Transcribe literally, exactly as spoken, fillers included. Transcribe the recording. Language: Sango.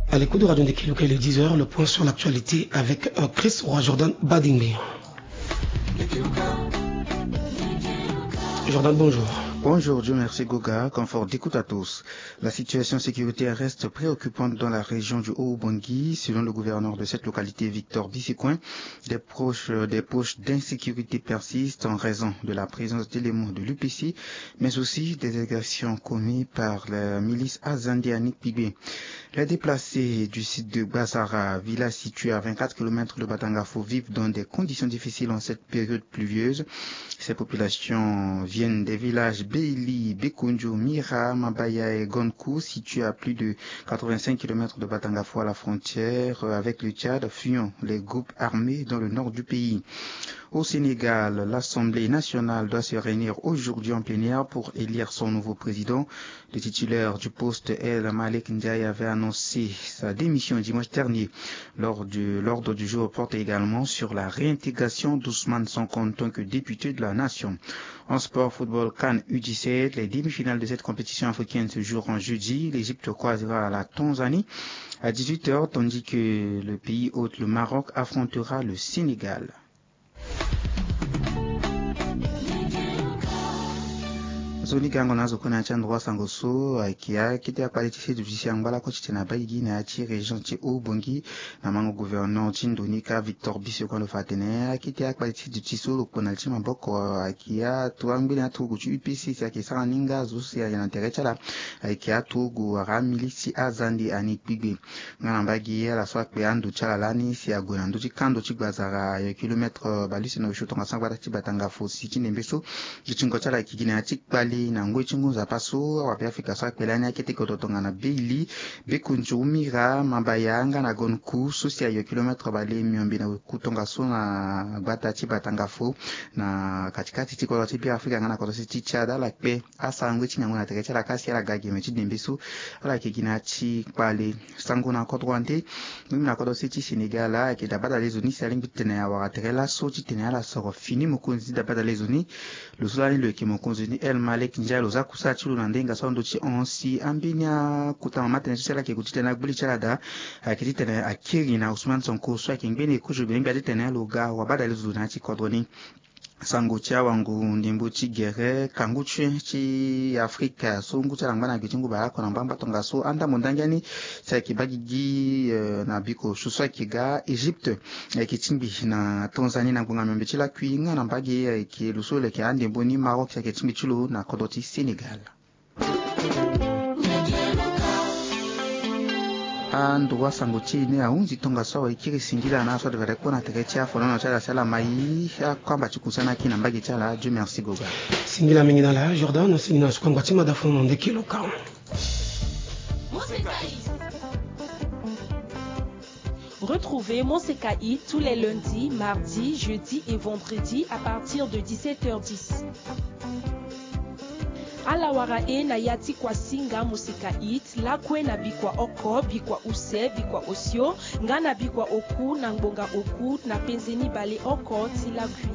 À l'écoute de Radio Ndekeluka, il est dix heures, le point sur l'actualité avec euh, Chris Roy Jordan Badingbe. Jordan, bonjour. Bonjour, Dieu merci Goga, confort d'écoute à tous. La situation sécuritaire reste préoccupante dans la région du Haut-Oubangui. Selon le gouverneur de cette localité, Victor Bissecoin, des proches, euh, des poches d'insécurité persistent en raison de la présence d'éléments de l'U P C, mais aussi des agressions commises par la milice Azande à Nipigbe. Les déplacés du site de Gbazara, village situé à vingt-quatre kilomètres de Batangafo, vivent dans des conditions difficiles en cette période pluvieuse. Ces populations viennent des villages Beili, Bekonjo, Mira, Mabaya et Gonkou, situés à plus de quatre-vingt-cinq kilomètres de Batangafo à la frontière avec le Tchad, fuyant les groupes armés dans le nord du pays. Au Sénégal, l'Assemblée nationale doit se réunir aujourd'hui en plénière pour élire son nouveau président. Le titulaire du poste, El Malik Ndiaye, avait annoncé sa démission dimanche dernier. Lors de l'ordre du jour porte également sur la réintégration d'Ousmane Sonko en tant que député de la nation. En sport, football, CAN U dix-sept, les demi-finales de cette compétition africaine se joueront jeudi. L'Égypte croisera la Tanzanie à dix-huit heures, tandis que le pays hôte, le Maroc, affrontera le Sénégal. Nzoni gango na zo kue na ya ti androit sango so ayeke akete akpale ti seduti si angba lakue titene abaa gigi na ya ti région ti Haut-Oubangui. Na mango gouverneur ti ndo ni ka Victor Bissecoin lo fa atene akete akpale ti seduti so lo kpo na li ti maboko ayeke aturugu angbeni aturugu ti U P C si ayeke sara ni nga zo si aye na tere ti ala ayeke aturugu wala amilisi ti Azande a Nipigbe. Nga na mbage ala so akpe ando ti ala lani si ague na ndö ti kando ti Gbazara, ayo kilomètre, euh, bale use na osio tongaso na gbata ti Batangafo si ti ndembe so. Dutingo ti ala ayeke gi na ya ti kpale na ngoi ti ngu nzapa so awabe Afrika so akpe lani akete kodro tongana Beili, Bekonjo, Mira, Mabaya nga na Gonkou so si ayo kilomètre bale miombe na oku tongaso na gbata ti Batangafo na katikati ti kodro ti Beafrika nga na kodro ti Tchad. Ala kpe asara ngoi ti ngangu na tere ti ala ka si ala ga geme ti ndembe so. Ala yeke gi na ya ti kpale. Sango na kodro ande. Mingi na kodro se ti Sénégal ayeke daa badale zo ni si alingbi ti tene awara tere laso ti tene ala soro fini mokonzi ti daa badale zo ni. Lo so lani lo yeke mokonzi ni El Malik Ndiaye lo za kusala ti lo na ndenga so ando ti hon si ambeni akota mama tënë so si ala yeke gue ti tene agbili ti ala daa ayeke ti tene akiri na Ousmane Sonko so ayeke ngbeni kozo gbene gbia ti tene lo ga wabadale zo na ya ti kodro ni. Sango ti awango ndembo ti gere kangu ti ti Afrika so ngu ti ala ngba na gbe ti ngu baleoko na mbangba tongaso andambo ndangi ani si ayeke baa gigi, eh, na biko so so ayeke ga Égypte, ayeke tingbi na Tanzanie na ngbonga miombe ti lakui nga na mbage ayeke lo so lo yeke andembo ni Maroc si ayeke tingbi ti lo na kodro ti Sénégal. Androit sango ti e ni ahunzi tongaso awe kiri singila na aso adevere kue na tere ti afonono ti ala si ala mai akamba ti kusana aki na mbage ti ala. Dieu merci Goga. Singila mingi na ala Jordan, singila na sukangba ti mada fonono ndeke lo ka. Retrouvez Monseka Hit tous les lundis, mardis, jeudis et vendredis à partir de dix-sept heures dix. Ala wara e na ya ti Kwasinga Monseka Hit lakue na bikua oko, bikua use, bikua osio, nga na bikua oku na ngbonga oku na penze ni baleoko ti lakui.